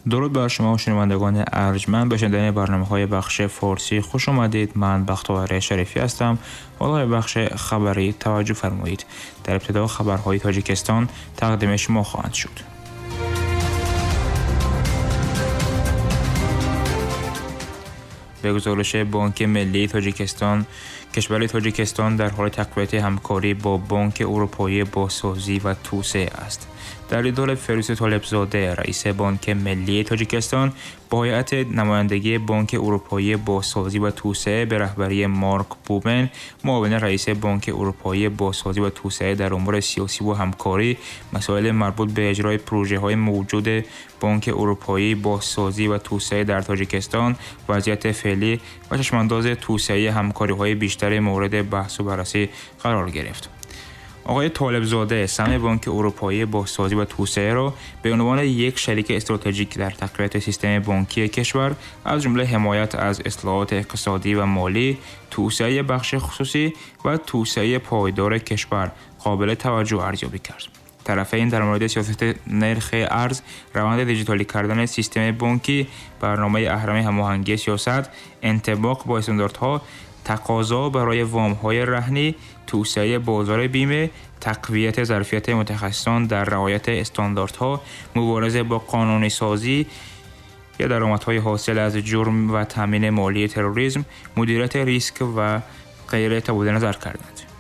Дуруд бар шумо, шунавандагони арҷманд, ба шунидани барномаҳои бахши форсӣ хуш омадед. Ман Бахтовар Шарифӣ ҳастам. Ҳоло ба бахши хабарӣ таваҷҷӯҳ фармоед. Дар ибтидо хабарҳои Тоҷикистон тақдими шумо хоҳанд шуд. Ба гузориши Бонки Миллии Тоҷикистон, кишвари Тоҷикистон дар ҳоли тақвияти ҳамкорӣ бо Бонки Аврупоии Бозсозӣ ва توسعه аст. Дар дидори Фирӯз Толибзода, раиси Бонки Миллии Тоҷикистон, бо ҳайати намояндагии Бонки Аврупоии Бозсозӣ ва توسعه به رهبری مارک بومن، معاون رئیس بانک اروپایی بازسازی و توسعه در امور سیاسی و همکاری، مسائل مربوط به اجرای پروژه‌های موجود بانک اروپایی بازسازی و توسعه در تاجیکستان، وضعیت فعلی و چشم‌انداز توسعه همکاری‌های بیشتر مورد بحث و بررسی قرار گرفت. آقای طالبزاده سهم بانک اروپایی بازسازی و توسعه را به عنوان یک شریک استراتژیک در تقویت سیستم بانکی کشور از جمله حمایت از اصلاحات اقتصادی و مالی، توسعه بخش خصوصی و توسعه پایدار کشور قابل توجه ارزیابی کرد. طرفین در مورد سیاست نرخ ارز، روند دیجیتالی کردن سیستم بانکی، برنامه اهرم هماهنگی سیاست، انطباق با استانداردها، تقاضا برای وام‌های رهنی، توسعه بازار بیمه، تقویت ظرفیت متخصصان در رعایت استانداردها، مبارزه با قانونی سازی یا درآمدهای حاصل از جرم و تامین مالی تروریسم، مدیریت ریسک و غیره تبادل نظر کردند.